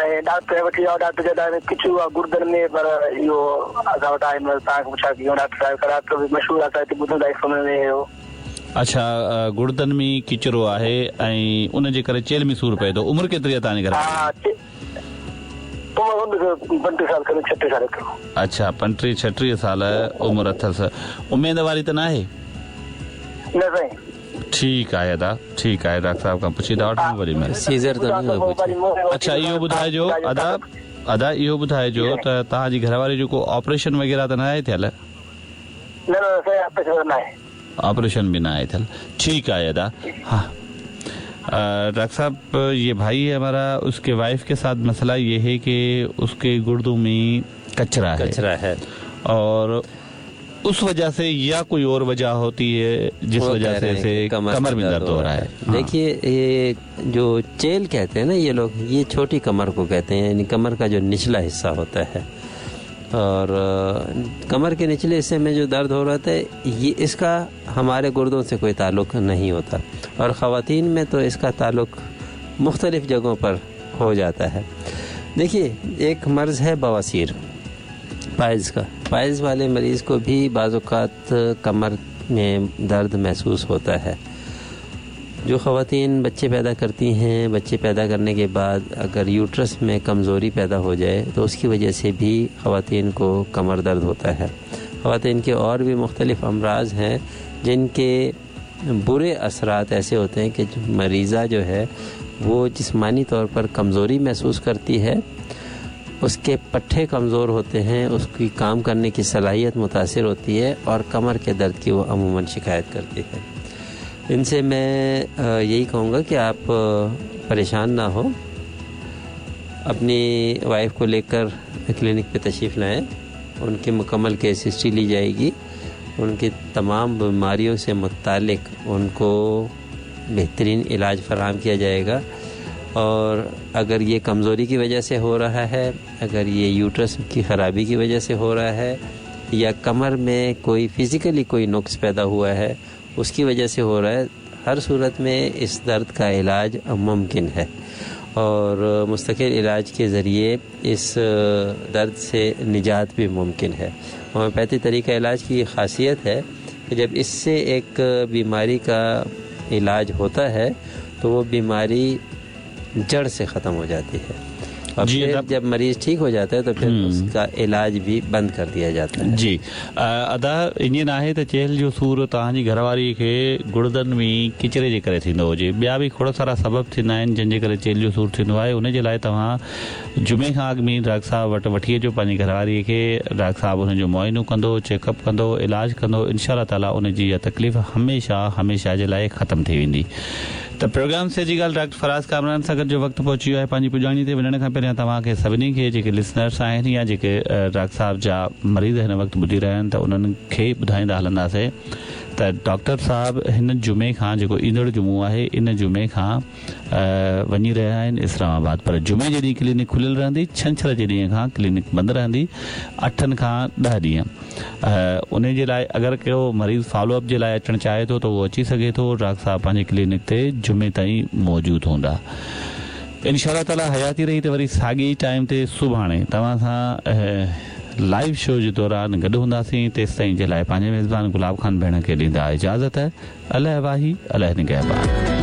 ۽ Doctor وٺي ويا doctor چيو ته ڪچرو آ گردن ۾ پر اهو اسان وٽ آهي مطلب توهان کي پڇا ڪيون ڊاڪٽر صاحب کان ڊاڪٽر به مشهور آ اسان هتي ٻڌون ٿا سمي ۾ اهو. اڇا گڙدن ۾ ڪچرو آهي ۽ ان جي ڪري چيلهه ۾ سور پئي ٿو عمر ڪيتري آ توهان جي گهر واري جي؟ عمر 35 سال کن 36 سال ايترو. اڇا 35 36 سال عمر اٿس اميد واري ته ناهي؟ نه سائين. ٺيڪ آهي ادا ٺيڪ آهي ڊاڪٽر صاحب کان پڇي ٿا وٺون وري مهرباني. سيزر ته نه هيو پڇي. اڇا اهو ٻڌائجو ادا ادا اهو ٻڌائجو ته توهان جي گهر واري جو ڪو آپريشن وغيره ته ناهي ٿيل؟ نه نه سائين آپريشن ته ناهي. آپريشن به ناهي ٿيل ٺيڪ آهي ادا ها ڊاڪٽر صاحب يه ڀائي هي همارا اس ڪي وائف ڪي ساٿ مسئلا يه هي ڪي اس ڪي گردون مين ڪچرا هي ڪچرا هي اور اس وجه سي يا ڪوئي اور وجه هوتي هي جس وجه سي اسي ڪمر مين درد هو رها هي. ديکهي يه جو چيل ڪهتي هين نا يه لوگ يه ڇوٽي ڪمر ڪو ڪهتي هين يعني ڪمر ڪا جو نچلا حصه هوتا هي اور ڪمر ڪي نچلي حصي مين جو درد هو رها هي يه اس ڪا هماري گردون سي ڪوئي تعلق نهين هوتا اور خواتين مين تو اس ڪا تعلق مختلف جگهون پر هو جاتا هي ديکهي ايڪ مرض هي بواسير پائلز ڪا پائلز والي مريض ڪو ڀي بعض اوقات ڪمر ۾ درد محسوس هوتا هي جو خواتين بچي پيدا ڪرتي هين بچي پيدا ڪرني ڪي بعد اگر يوٽرس ۾ ڪمزوري پيدا هو جائي تو اس ڪي وجه سي ڀي خواتين ڪو ڪمر درد هوتا هي خواتين ڪي اور ڀي مختلف امراض هين جن ڪي بري اثرات ايسي هوتي هين ڪي مريضه جو هي وو جسماني طور پر ڪمزوري محسوس ڪرتي هي اس ڪي پٺي ڪمزور هوتي هين اس ڪي ڪام ڪرني ڪي صلاحيت متاثر هوتي هي اور ڪمر ڪي درد ڪي وو عموماً شڪايت ڪرتي هي ان سي مين يهي ڪهون گا ڪي آپ پريشان نه هو اپني وائف ڪو ليڪر ڪلينڪ پي تشريف لائين ان ڪي مڪمل ڪيس هسٽري لي جائي گي ان ڪي تمام بيماريون سي متعلق ان ڪو بهترين علاج فراهم ڪيا جائي گا اور اگر يه ڪمزوري ڪي وجه سي هو رها هي اگر يه يوٽرس ڪي خرابي ڪي وجه سي هو رها هي يا ڪمر ۾ ڪوئي فزيڪلي ڪوئي نقص پيدا هوا هي اس ڪي وجه سي هو رها هي هر صورت ۾ اس درد ڪا علاج ممڪن هي اور مستقل علاج ڪي ذريعي اس درد سي نجات ڀي ممڪن هي هوميوپيٿي طريقه علاج ڪي يه خاصيت هي ڪي جب اس سي ايڪ بيماري ڪا علاج هوتا هي تو وو بيماري جڙ سي ختم هو جاتي هي اور ڦر جب مريض ٺيڪ هو جاتا هي تو ڦر اس ڪا علاج ڀي بند ڪر ديا جاتا هي. جي ادا ائين ناهي ته چيلهه جو سور توهان جي گهر واري کي گڙدن ۾ ڪچري جي ڪري ٿيندو هجي ٻيا به کوڙ سارا سبب ٿيندا آهن جن جي ڪري چيلهه جو سور ٿيندو آهي ان جي لاء توهان جمعي کان اڳ ۾ ڊاڪٽر صاحب وٽ وٺي اچو پنهنجي گهر واري کي ڊاڪٽر صاحب ان جو معائنو ڪندو چيڪ اپ ڪندو علاج ڪندو انشاء الله تعالي ان جي اها تڪليف هميشه هميشه جي لاء ختم ٿي ويندي ته پروگرام صحت جي ڳالهه ڊاڪٽر فراز ڪامران سان گڏ جو وقت پهچي ويو آهي پنهنجي پڄاڻي تي وڃڻ کان پهريان توهان کي سڀني کي جيڪي لسنرس آهن يا جيڪي ڊاڪٽر صاحب جا مريض هن وقت ٻڌي رهيا آهن ته انهن کي ٻڌائيندا هلنداسين ته ڊاڪٽر صاحب هن جمعي کان جيڪو ايندڙ جمعو آهي ان جمعي کان وڃي رهيا آهن اسلام آباد پر جمعي جي ڏينهن ڪلينڪ کليل رهندي ڇنڇر جي ڏينهن کان ڪلينڪ بند رهندي اٺن کان ڏهه ڏينهن انهي جي لاء اگر ڪو مريض فالو اپ جي لاء اچڻ چاهي ٿو ته اهو اچي سگهي ٿو ڊاڪٽر صاحب پنهنجي ڪلينڪ تي جمعي تائين موجود هوندا انشاء الله تعالي حياتي رهي ته وري ساڳي ئي ٽائيم تي سڀاڻي توهان سان لائيو شو جي دوران گڏ هونداسين تيستائين جي لاء پنهنجي ميزبان گلاب خان ڀيڻ کي ڏيندا اجازت الله واهي الله نگهبان.